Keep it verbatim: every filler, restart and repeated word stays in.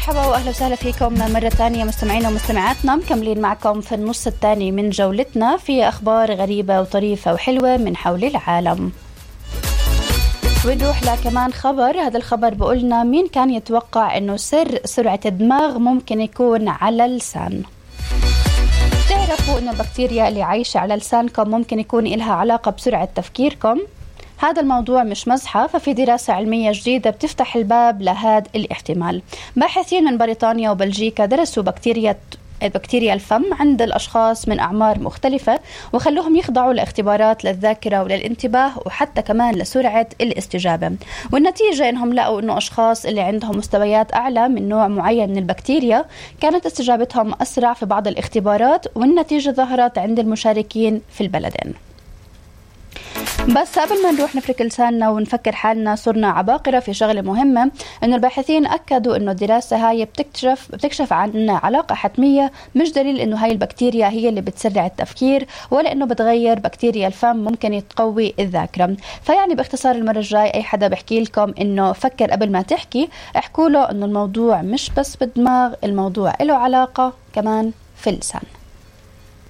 مرحبا وأهلا وسهلا فيكم مرة تانية مستمعينا ومستمعاتنا، مكملين معكم في النص الثاني من جولتنا في أخبار غريبة وطريفة وحلوة من حول العالم. ونروح لكمان خبر. هذا الخبر بقولنا مين كان يتوقع أنه سر سرعة الدماغ ممكن يكون على اللسان. تعرفوا أن البكتيريا اللي عايشة على لسانكم ممكن يكون إلها علاقة بسرعة تفكيركم؟ هذا الموضوع مش مزحة، ففي دراسة علمية جديدة بتفتح الباب لهذا الاحتمال. باحثين من بريطانيا وبلجيكا درسوا بكتيريا بكتيريا الفم عند الأشخاص من أعمار مختلفة وخلوهم يخضعوا لاختبارات للذاكرة وللانتباه وحتى كمان لسرعة الاستجابة، والنتيجة إنهم لقوا إنه أشخاص اللي عندهم مستويات أعلى من نوع معين من البكتيريا كانت استجابتهم أسرع في بعض الاختبارات، والنتيجة ظهرت عند المشاركين في البلدين. بس قبل ما نروح نفرك لساننا ونفكر حالنا صرنا عباقرة في شغلة مهمة، إنه الباحثين أكدوا إنه الدراسة هاي بتكتشف بتكشف عن علاقة حتمية، مش دليل إنه هاي البكتيريا هي اللي بتسرع التفكير ولا إنه بتغير بكتيريا الفم ممكن يتقوي الذاكرة. فيعني باختصار المرة الجاي أي حدا بحكي لكم إنه فكر قبل ما تحكي، احكوا له إنه الموضوع مش بس بالدماغ، الموضوع له علاقة كمان في اللسان.